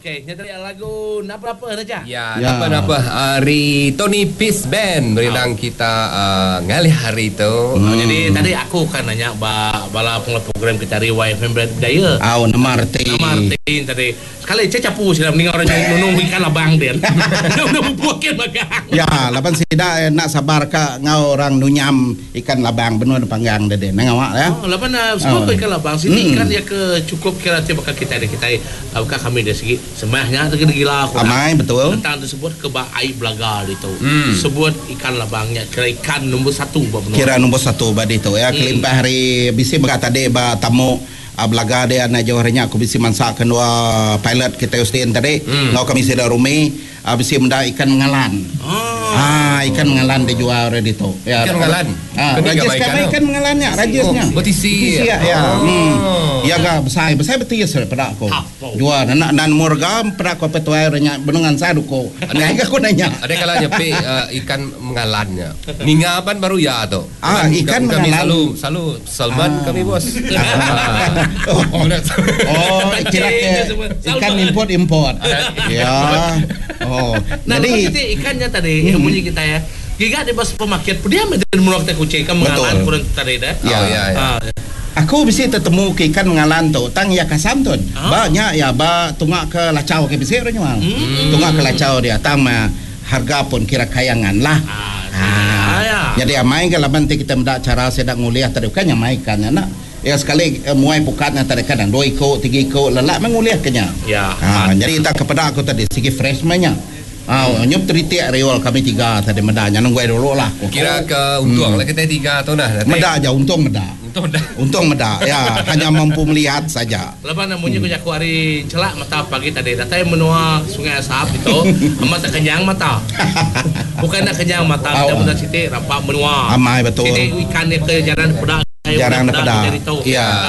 Okey, nya tadi lagu napa-napa raja. Ya, napa-napa ari Tony Peace Band merindang kita ngalih hari tu. Jadi tadi aku ka nanya ba bala pengelola program kita ari YFM Bidaya. Au, nama reti. Nama reti tadi. Sekali cha chapu sida ninga orang nunung ikan labang din. Udah mupuk kin magang. Ya, laban sida enda sabar ka enggau orang nunyam ikan labang benung dipanggang deh din. Nang awak ya. Oh, laban semua ko ikan labang siti ikan iya ke chukup kira ti baka kitai deh kitai baka kami deh sigi semah nya deh gila ku orang. Amai betul. Tentang disebut ke ba ai belaga ditu. Sebut ikan labang nya kira ikan nombor satu ba menua. Kira nombor satu ba ditu ya kelimpah ari bisi mega tadi ba tamu Belaga dia enda jauh ari nya aku bisi mansa ke endua pilot kitai Ustin tadi enggau kami sida rumi bisi meda ikan mengalan. Haa ikan mengalan dijual ari ditu. Ikan mengalan? Rajis ka ikan mengalan nya rajis nya. Betisi. Betisi ya. Iya ga besai besai betis peda aku. Jual enda enda nemu rega peda aku apai tuai orang nya benung ngansah duku. Enggai ga aku nanya. Ada kala nyepi ikan mengalan nya. Ninga pan baru iya tu. Ah, ikan kami mengalan. selalu selalu salmon ah. kami bos. Oh, oh kira ke ikan import import. ya. Oh. Nah, Jadi jadi ikannya tadi hmm. bunyi kita ya. Giga di bas supermarket, dia mesti menurut kita kucing ikan mengalan kurang tadi dah. Ya, oh, ya, ya. Ah. Aku bisi tetemu ke ikan mengalan tu tang iya kasam tu. Ah. Ba nya ya ba tunga ke lacau ke bisi orang nyual. Hmm. Tunga ke lacau dia tang ma harga pun kira kayangan lah. Ah, Nyadi amai ga laban ti kita meda chara sida ngulih tadi bukan nya mai ikan nya enda. Iya sekali muai pukat nya tadi kadang dua iku tiga iku lelak meh ngulih ke nya. Ya. Ha nyadi tang ke peda aku tadi sigi fresh meh nya. Ha nyup teritik riul kami tiga tadi meda nya nunggu dulu lah. Kira ke untung lah kitai tiga tu nah. Meda aja untung meda. Untung meda. Untung meda ya hanya mampu melihat saja. Laban munyi ku jaku ari chelak mata pagi tadi datai menua Sungai Asap ditu amat tak kenyang mata. Bukai enda kenyang mata kita meda siti rampa menua. Amai betul. Siti ikan iya ke jarang dipeda jarang dipeda kitai ditu.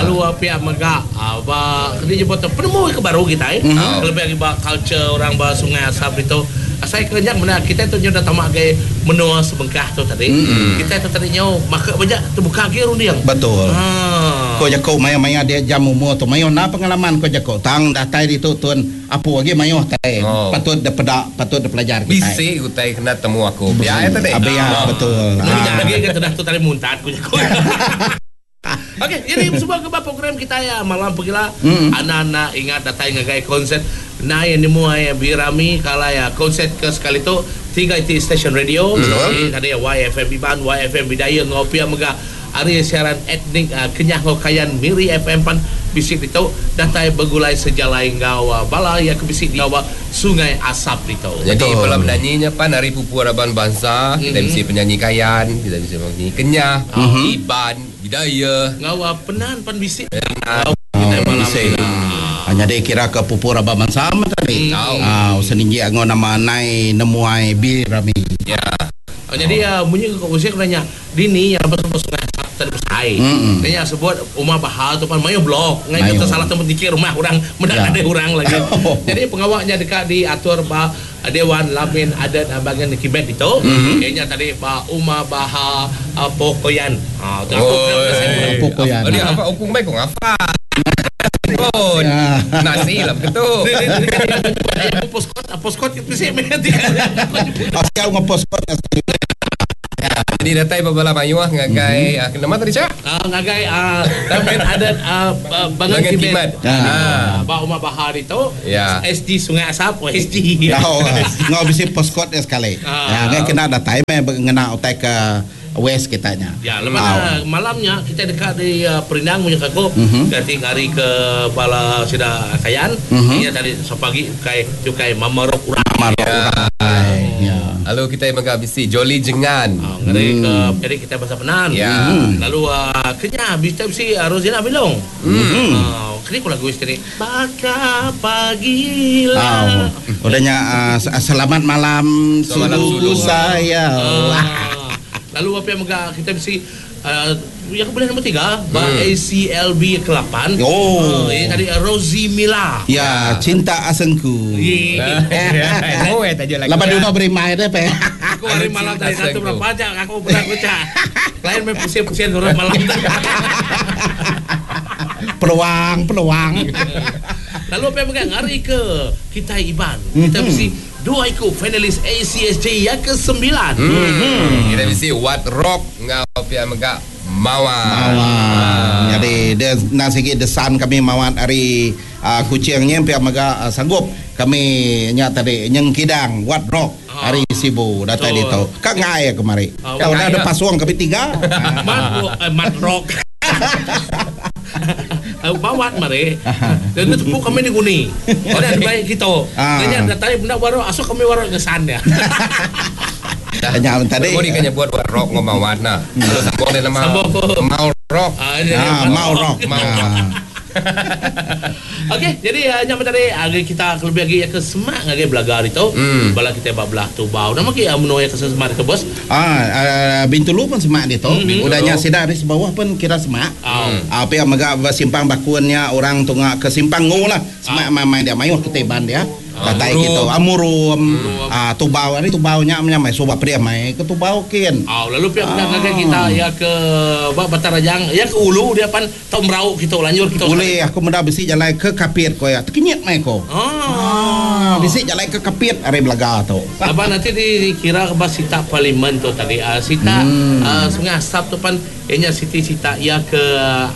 Lalu pia mega ba keni nyebut tu penemu ke baru kitai kelebih agi ba culture orang ba Sungai Asap ditu. Asai ke nya meda kitai tu nyau dah tama agi menua sebengkah tu tadi. Kitai tu tadi nyau maka majak tebuka agi runding. Betul. Ko jaku maya-maya dia jam umur tu mayuh enda pengalaman ko jaku tang datai ditu tun apu agi mayuh tai patut dipeda patut dipelajar kitai. Bisi utai kena temu aku pia tadi. Pia betul. Nya agi ga tedah tu tadi muntat ko jaku. Okey, jadi semua ke ba program kitai malam pegila anak-anak ingat datai ngagai konsert Nai Nemu Ai Birami kalai konsert ke sekali tu tiga iti stesen radio ti tadi YFM Iban, YFM Bidaya enggau pia mega ari siaran etnik Kenyah enggau Kayan Miri FM pan bisi ditu datai begulai sejalai enggau bala iya ke bisi diau ba Sungai Asap ditu. Nyadi bala penanyi nya pan ari pupu raban bansa, kitai bisi penyanyi Kayan, kitai bisi penyanyi Kenyah, Iban, Bidaya. Enggau Penan pan bisi enggau kitai malam Bisi. ila. Nyadi kira ke pupu raban bansa meh tadi. Seninjik enggau nama Nai Nemuai Birami. Ya. Nyadi munyi ke usik udah nya dini iya lebuh sebut sungai asap tadi besai. Nya sebut Uma Bahal tu pan mayuh blok ngai kata salah tempat niki rumah orang meda nadai orang lagi. Jadi pengawa nya deka diatur ba Dewan Lamin Adat Bagan Kimet ditu. Iya nya tadi ba Uma Baha Pokoyan. Ha tu aku kena sebut. Pokoyan. Apa opung mai ko ngafal. Pun. Nasi lah begitu. Poskot, poskot bisi meh ti. Siap ngau poskot Jadi datai bebala mayuh ngagai nama tadi cak? Ngagai Taman Adat Bangan Kimet. Ba Uma Bahar ditu. SG Sungai Asap, SG. Ngau bisi poskot dia sekali. Ngai kena datai meh ngena utai ke West kita nya. Ya, lepas na malam nya kitai deka di perindang munyi aku ganti ngari ke bala sida Kayan inya tadi sepagi ukai ti ukai Mamarok Urai. Mamarok Urai. Ya. Lalu kitai mega bisi Jolly Jengan. Ngari ke jadi kitai bansa Penan. Ya. Lalu kenya bisi bisi Rosina Bilong. Keni ku lagu siti ni Baka pagila. Udah nya selamat malam sulu sayau. Lalu pia mega kitai bisi iya ke bulih nombor tiga ba ACLB ke lapan. Oh. Iya tadi Rosie Mila. Ya, cinta asengku. Laban dulu berimai deh pe. Aku hari malam tadi satu berapa aja aku pernah baca. Lain main pusing-pusing orang malam tadi. Peluang, peluang. Lalu apa yang hari ke kita Iban. Kita bisi dua iku finalis ACSJ yang ke-9. Kita bisi Wat Rock ngau pia mega Mawar. Mawar. Jadi dia nang sigi desan kami mawat hari Kuchingnya pia mega sanggup kami nya tadi nyengkidang Wat Rock hari Sibu datai ditu. Ka ngai kemari. Ka udah ada pasung kami tiga. Mat Rock. Bawat mari. Dan itu tepuk kami ni guni. Ada baik kita. Nanya datai benda baru asuk kami baru ngesan dia. Nya tadi. Kau ni kan buat Wat Rock ngau Mawat nah. Lalu sambung dia nama Mau Rock. Mau Rock. Mau Rock. Okey, jadi nya tadi hari kita lebih lagi ke semak ngagai belaga itu. Bala kita belah tubau. Nama ke menua ke semak ke bos? Bintulu pun semak ditu. Udahnya sida di bawah pun kira semak. Apa yang mega simpang bakunnya orang tunga ke simpang ngu lah. Semak mamai dia mayuh kita iban dia. Datai gitu amurum tubau hari tubau nya menyamai soba pria mai ke tubau kin. Lalu pihak ngagai kita ya ke bak Batarajang ya ke ulu dia pan tau merau kita lanjur kita. Boleh aku menda bisi jalai ke Kapit ko ya. Tekenyit mai ko. Bisi jalai ke Kapit hari belaga tu. Abang nanti dikira ke bas sita parlimen tu tadi. Sita Sungai Asap tu pan ianya siti sita ya ke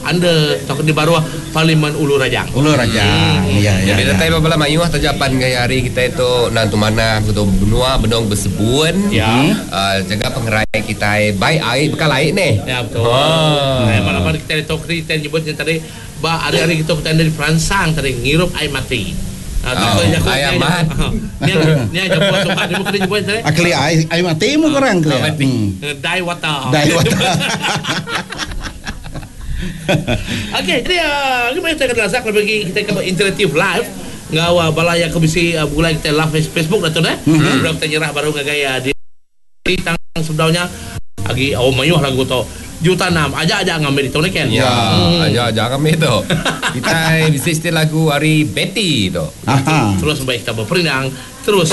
under atau di bawah Parlimen Ulu Rajang. Ulu Rajang. Ya ya. Jadi datai bala mayuh tajapan gaya hari kita itu nantu mana begitu benua benong bersebun. Ya. Jaga pengerai kita baik air bekal air ni. Ya betul. Nah, malam kita itu kita nyebutnya tadi ba hari-hari kita kita dari Perangsang tadi ngirup air mati. Air mat. Ni aja buat sobat dia bukan nyebut tadi. Akli air mati mu korang kli. Die water. Die water. Okey, jadi gimana kita kena lasak bagi kita ke interaktif live ngau balaya ke bisi bulai kita live Facebook dah tu dah. Sebelum kita nyerah baru ngagai di tang sebelumnya agi oh mayuh lagu tu. Juta enam aja-aja ngambil itu ni kan. Ya, aja-aja ngambil tu. Kita bisa setel lagu hari Betty tu. Terus baik kita berperindang terus.